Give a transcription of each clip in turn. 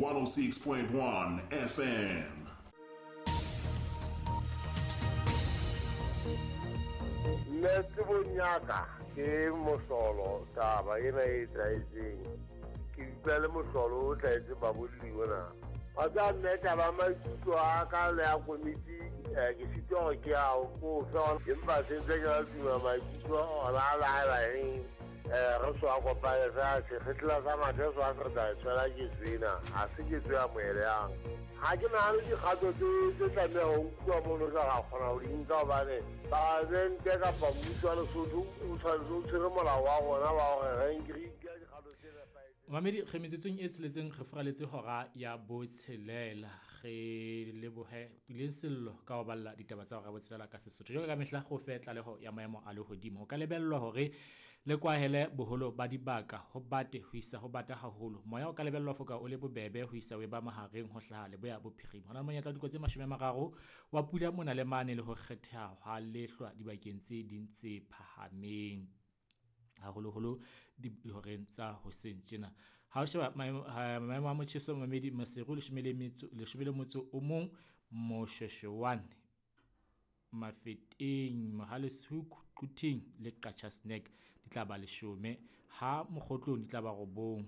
106.1 FM. Nna tsebong ya ka ke mohlolo taba ena e etsahetseng. Ke utlwa le mohlolo o hlahetseng babolli ona. Wa tseba mme taba ya maikutlo a ka le ya komiti ke sitwa hore ke a ko fe empa se ntse ke la tuma maikutlo ona a le haebaneng re so a kopane fela sekgetla sa mathe so a se re tla tshwela ketso ena ha se ketso e amohelehang. Ha ke nahane dikgato tse tlameha ho nkuwa mono ka ra kgona ho di nka hobane palamente kapa mmuso wa Lesotho o tshwanetse o tshwere molao wa rona wa hore re nke re nke dikgato tse nepahetseng. Mamedi re metsotsong e tsheletseng re furaletse hora ya botshelela. Re lebohe Puleng Sello ka ho balla ditaba tsa hora ya botshelela ka Sesotho. Jwalo ka mehla go fe tlaleho ya maemo a lehodimo. Ho ka lebellwa hore le kwahele boholo ba dibaka, ho bate ho isa ho bata haholo. Moya o ka lebellwa foka o le bobebe ho isa o eba mahareng ho hlaha leboya bophirima. Ho na le monyetla wa dikotsi tse 30 wa pula mona le mane le ho kgetheha hwa lehlwa dibakeng tse ding tse phahameng, haholoholo dihoreng tsa hoseng tjena. Ha o sheba maemo a motjheso mamedi Maseru 11, Moshweshwane, Mafeteng, Mohale's Hoek, Quthing le Qacha's Nek di tla ba 10, ha Mokgotlong di tla ba 9,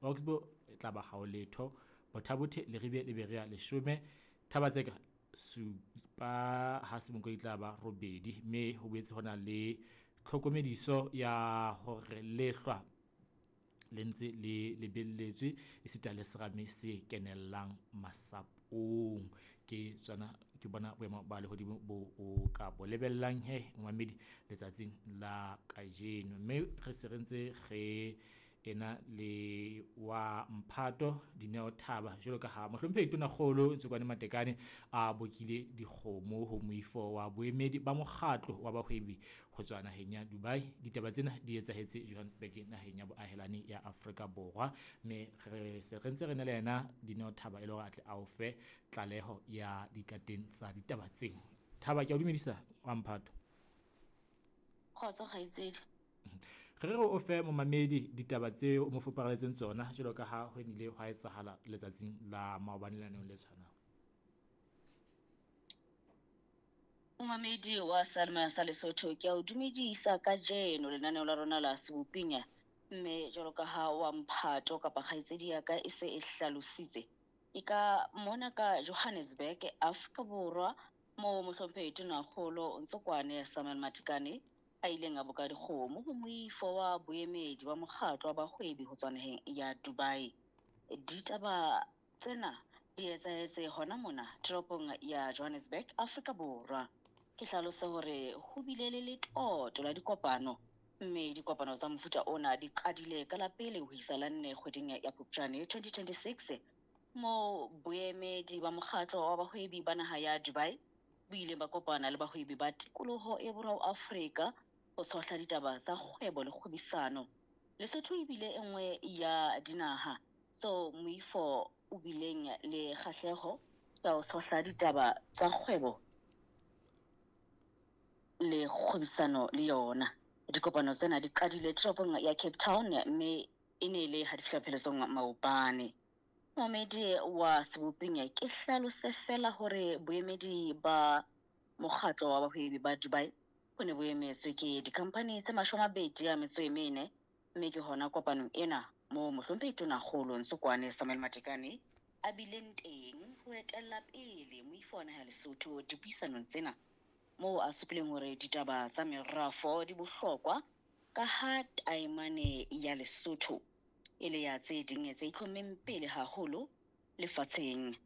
Oxbow e tla ba hao letho, Botha-Bothe, Leribe le Berea 10, Thaba-Tseka 7, ha Semonkong di tla ba 8. Mme ho boetse ho na le tlhokomediso ya hore lehlwa le ntse le lebelletswe esita le serame se kenellang masapong. Ke tsona ke bona boemo ba lehodimo bo o ka bo lebellang he momamedi letsatsing la kajeno. Mme re se re ntse re ena le wa mphato Dineo Thaba jwalo ka ha mohlomphehi Tonakgolo Ntsokoane Matekane a bokile dikgomo ho moifo wa boemedi ba mokgatlo wa bahwebi ho tswa naheng ya Dubai. Ditaba tsena di etsahetse Johannesburg naheng ya boahelani ya Afrika Borwa. Mme re se re ntse re na le yena Dineo Thaba e le hore a tle a o fe tlaleho ya dikateng tsa ditaba tseo. Thaba, ke a o dumedisa wa mphato. Kgotso kgaitsedi. Re re o fe momamedi ditaba tseo o mo fupareletseng tsona jwalo ka ha ho nnile hwa etsahala letsatsing la maobane lenaneong le tshwanang. Momamedi wa Seyalemoya sa Lesotho, ke a o dumedisa kajeno lenaneo la rona la Seboping. Mme jwalo ka ha wa mphato kapa kgaitsedi ya ka e se e hlalositse, ke ka mona ka Johannesburg, Afrika Borwa, moo mohlomphehi Tonakgolo Ntsokoane Samuel Matekane a ileng a boka dikgomo ho moifo wa boemedi wa mokgatlo wa bahwebi ho tswa naheng ya Dubai. Ditaba tsena di etsahetse hona mona toropong ya Johannesburg, Afrika Borwa. Ke hlalose hore ho bile le letoto la dikopano, mme dikopano tsa mofuta ona di qadile ka la pele ho isa la 4 kgweding ya Phupjane 2026, moo boemedi ba mokgatlo wa bahwebi ba naha ya Dubai bo ileng ba kopana le bahwebi ba tikoloho e borwa ho Afrika ho tshohla ditaba tsa kgwebo le kgwebisano. Lesotho e bile e nngwe ya dinaha tseo moifo o bileng le kgahleho tsa ho tshohla ditaba tsa kgwebo le kgwebisano le yona. Dikopano tsena di qadile toropong ya Cape Town mme e ne le ha di fihla pheletsong maobane. Momedi wa Seboping, ke hlalose fela hore boemedi ba mokgatlo wa bahwebi ba Dubai bo ne bo emetswe ke dikhamphani tse 24, mme ke hona kopanong ena moo mohlomphehi Tonakgolo Ntsokoane Samuel Matekane a bileng teng ho etella pele moifo wa naha ya Lesotho dipuisanong tsena, moo a supileng hore ditaba tsa merafo di bohlokwa ka ha taemane ya Lesotho e le ya tse ding tse itlhommeng pele haholo lefatsheng.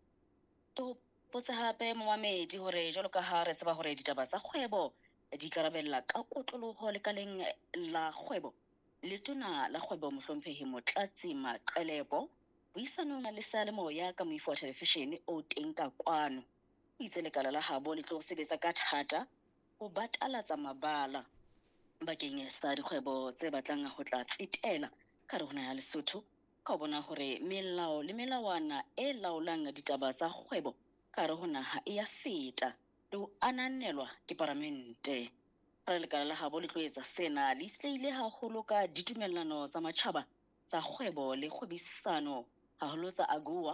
Ke hopotse hape momamedi hore jwalo ka ha re tseba hore ditaba tsa kgwebo di ikarabella ka kotloloho lekaleng la kgwebo, letona la kgwebo mohlomphehi Motlatsi Maqelepo puisanong le seyalemoya ka moifo wa televishene o teng ka kwano, o itse lekala la habo le tlo sebetsa ka thata ho batalatsa mabala bakeng sa dikgwebo tse batlang ho tla tsetela ka hare ho naha ya Lesotho ka ho bona hore melao le melawana e laolang ditaba tsa kgwebo ka hare ho naha e ya feta le ho ananelwa ke paramente. Re lekala la habo le tlo etsa sena le itshetlehile haholo ka ditumellano tsa matjhaba tsa kgwebo le kgwebisano, haholo tsa AGOA.